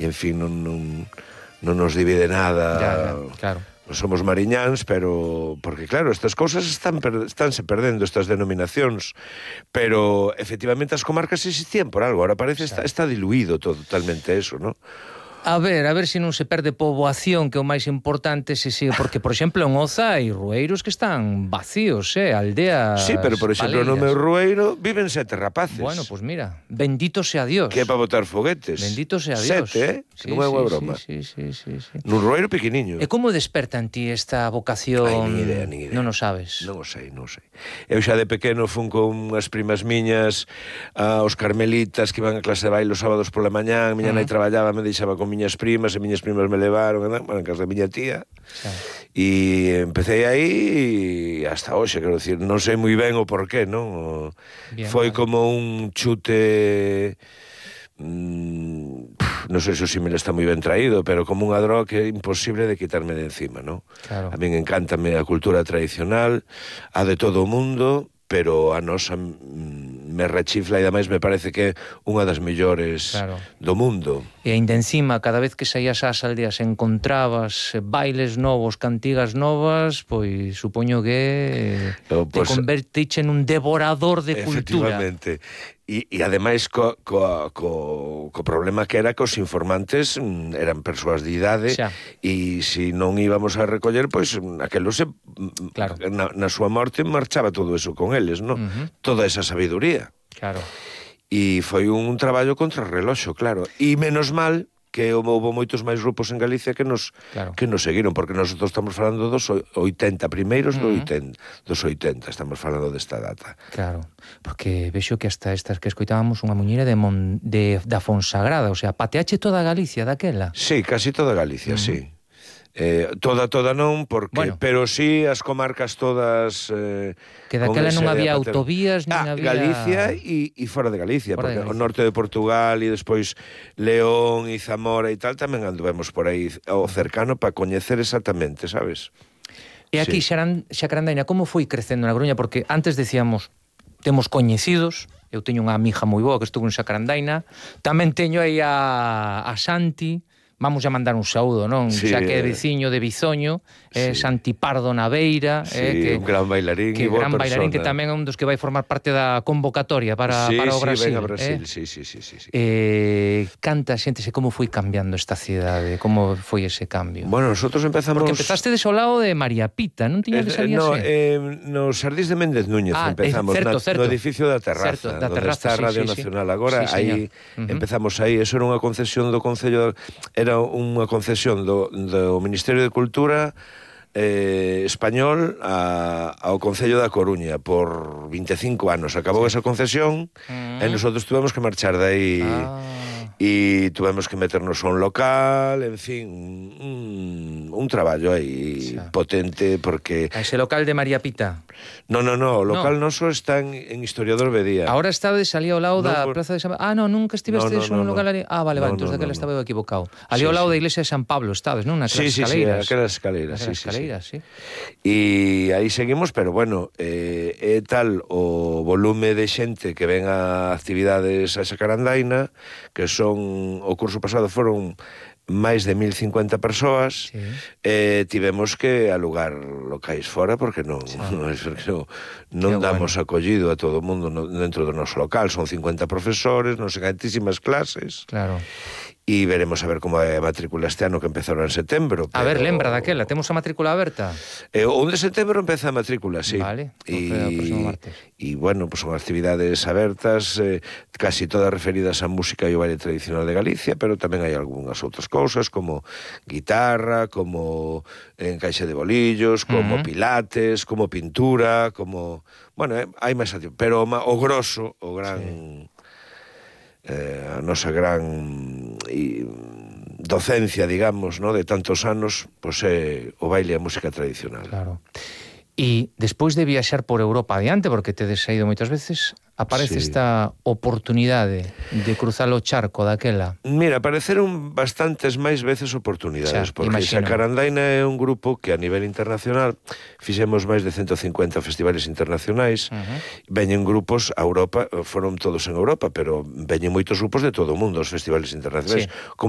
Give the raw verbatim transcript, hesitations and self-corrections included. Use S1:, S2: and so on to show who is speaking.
S1: e en fin, non, non, non nos divide nada.
S2: Ya, ya, claro.
S1: Non somos mariñáns, pero... Porque, claro, estas cousas están per, estánse perdendo, estas denominacións, pero, efectivamente, as comarcas existían por algo, ahora parece está, está diluído todo, totalmente eso, ¿no?
S2: A ver, a ver se non se perde poboación, que é o máis importante, se sigue, porque, por exemplo, en Oza hai rueiros que están vacíos, eh, aldeas.
S1: Sí, pero, por exemplo, no meu rueiro viven sete rapaces.
S2: Bueno, pues mira, bendito sea Dios.
S1: Que é para botar foguetes.
S2: Bendito sea Dios.
S1: Sete, eh?
S2: Sí,
S1: que non é unha
S2: sí,
S1: broma.
S2: Sí, sí, sí, sí.
S1: Nun rueiro pequeniño.
S2: E como desperta en ti esta vocación?
S1: Ai, nin idea, nin idea.
S2: Non o sabes.
S1: Non o sei, non o sei. Eu xa de pequeno fun con as primas miñas aos carmelitas que iban a clase de baile os sábados pola mañá, a miña uh -huh. nai traballaba, me deixaba con miñas primas, e miñas primas me levaron, bueno, en casa da miña tía, e empecé aí e hasta hoxe, quero dicir, non sei moi ben o porqué, non? Bien, foi vale. Como un chute... Mmm, non sei se o símil está moi ben traído, pero como unha droga que é imposible de quitarme de encima, non?
S2: Claro.
S1: A min encántame a cultura tradicional, a de todo o mundo, pero a nosa me rechifla e ademais me parece que é unha das mellores claro. Do mundo.
S2: E ainda encima, cada vez que saías ás aldeas encontrabas bailes novos, cantigas novas, pois supoño que oh, pues, te convertiche en un devorador de cultura.
S1: Efectivamente. E, e ademais co, co, co, co problema que era que os informantes eran persoas de idade xa. E se non íbamos a recoller, pois aquelo se claro. na, na súa morte marchaba todo eso con eles, non? Uh -huh. Toda esa sabiduría.
S2: Claro.
S1: E foi un traballo contra o reloxo, claro. E menos mal que houve moitos máis grupos en Galicia que nos claro. Que nos seguiron, porque nosotros estamos falando dos oitenta primeiros uh -huh. do oitenta, dos oitenta, estamos falando desta data.
S2: Claro, porque vexo que hasta estas que escoitábamos unha muñeira de, Mon, de da Fonsagrada, o sea, pateache toda Galicia daquela.
S1: Sí, casi toda Galicia, uh -huh. sí. Eh, toda, toda non, porque bueno. Pero sí as comarcas todas eh,
S2: que daquela non había autovías nin
S1: ah,
S2: había...
S1: Galicia e, e fora de Galicia,
S2: fora
S1: porque
S2: de Galicia.
S1: O norte de Portugal e despois León e Zamora e tal, tamén anduvemos por aí ao cercano para coñecer exactamente, sabes?
S2: E aquí, sí. Xacarandaina, como foi crecendo na Coruña? Porque antes decíamos, temos coñecidos, eu teño unha amiga moi boa que estuvo en Xacarandaina, tamén teño aí a, a Santi, vamos a mandar un saúdo, non? Sí, xa que é veciño de Bizoño, é sí. Santi Pardo Naveira,
S1: sí,
S2: eh, que,
S1: un gran bailarín
S2: que
S1: e boa
S2: gran
S1: persona.
S2: Bailarín que tamén é un dos que vai formar parte da convocatoria para,
S1: sí,
S2: para o
S1: sí,
S2: Brasil.
S1: Venga, Brasil.
S2: Eh?
S1: Sí, sí, sí, sí, sí.
S2: Eh, canta xente, se como foi cambiando esta cidade, como foi ese cambio?
S1: Bueno, nosotros empezamos...
S2: Porque empezaste de ao lado de María Pita, non tiña que salir
S1: eh, no,
S2: así?
S1: Eh, nos Sardís de Méndez Núñez ah, empezamos,
S2: eh, certo,
S1: na,
S2: certo.
S1: no edificio da Terraza,
S2: certo, da terraza
S1: onde está a Radio
S2: sí,
S1: Nacional
S2: sí,
S1: agora,
S2: sí,
S1: aí
S2: uh -huh.
S1: empezamos aí, eso era unha concesión do Concello, era unha concesión do, do Ministerio de Cultura eh, español a, ao Concello da Coruña por vinte e cinco anos. Acabou sí. esa concesión mm. e nosotros tuvemos que marchar de aí ah. e tuvemos que meternos a un local, en fin, un, un traballo aí sí. potente porque...
S2: A ese local de María Pita?
S1: No, no, no, o local no. noso está en, en Historiador Bedía.
S2: Ahora estaba de salía ao lado no, da por... Plaza de San Pablo. Ah, no, nunca estiveste
S1: no, no,
S2: no, no,
S1: no,
S2: local ali. Ah, vale,
S1: no,
S2: vale, entón
S1: no,
S2: daquela
S1: no,
S2: estaba eu equivocado. Ali
S1: sí,
S2: ao lado
S1: sí.
S2: da iglesia de San Pablo estades, non? Naquelas
S1: sí, sí,
S2: escaleiras.
S1: Sí, aquelas escaleiras, sí,
S2: escaleiras, sí.
S1: sí. E aí seguimos, pero bueno, eh, é tal o volume de xente que ven a actividades a Xacarandaina, que son, o curso pasado foron máis de mil cincuenta persoas, sí. eh, tivemos que alugar locais fora porque non, sí. non, non, non damos bueno. acollido a todo o mundo no, dentro do noso local, son cincuenta profesores, non sei cantísimas clases.
S2: Claro.
S1: E veremos a ver como é a matrícula este ano que empezou en setembro.
S2: Pero... A ver, lembra daquela, temos a matrícula aberta?
S1: Eh, o un de setembro empeza a matrícula, sí.
S2: Vale,
S1: e,
S2: o próximo martes.
S1: E, bueno, pues son actividades abertas, eh, casi todas referidas á música e ao baile tradicional de Galicia, pero tamén hai algunhas outras cousas, como guitarra, como encaixe de bolillos, como uh -huh. pilates, como pintura, como... Bueno, eh, hai máis actividades, pero o, o grosso, o gran... Sí. Eh, a nosa gran e, docencia, digamos, no, de tantos anos, pois é o baile e a música tradicional.
S2: Claro. E despois de viaxar por Europa adiante, porque tedes saído moitas veces, aparece sí. esta oportunidade de cruzar o charco daquela.
S1: Mira, apareceron bastantes máis veces oportunidades, xa, porque imagino. Xacarandaina é un grupo que a nivel internacional fixemos máis de ciento cincuenta festivales internacionais, uh -huh. veñen grupos a Europa, foron todos en Europa, pero veñen moitos grupos de todo o mundo, os festivales internacionais, sí. como